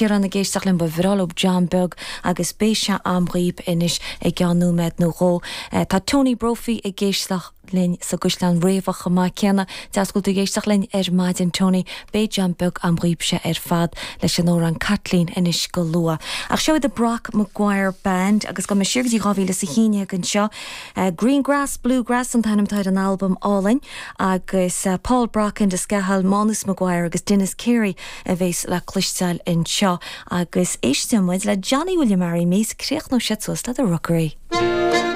Ciarán ag éisteacht linn, ba bhreá leo jam beag agus beidh sé a'm dhaoib anois i gceann nóiméad nó dhó. Tá Tony Brophy ag éisteacht linn sa gCaisleán Riabhach chomh maith céanna. Deas go bhfuil tú ag éisteacht linn ar maidin Tony. Beidh jam beag a'm dhaoibse ar fad leis an amhrán Caitlín anois go luath. Ach seo iad The Brock Maguire Band agus gabhfaidh mé siar go dtí 2011 anseo. Green Grass Blue Grass an t-ainm atá ar an albam álainn agus Paul Brock, Enda Scahill, Mánus Maguire agus Denis Carey a bhéas le cloisteáil anseo agus éistfidh muid le Johnny Will You Marry Me 's críochnóidh siad suas le The Rookery.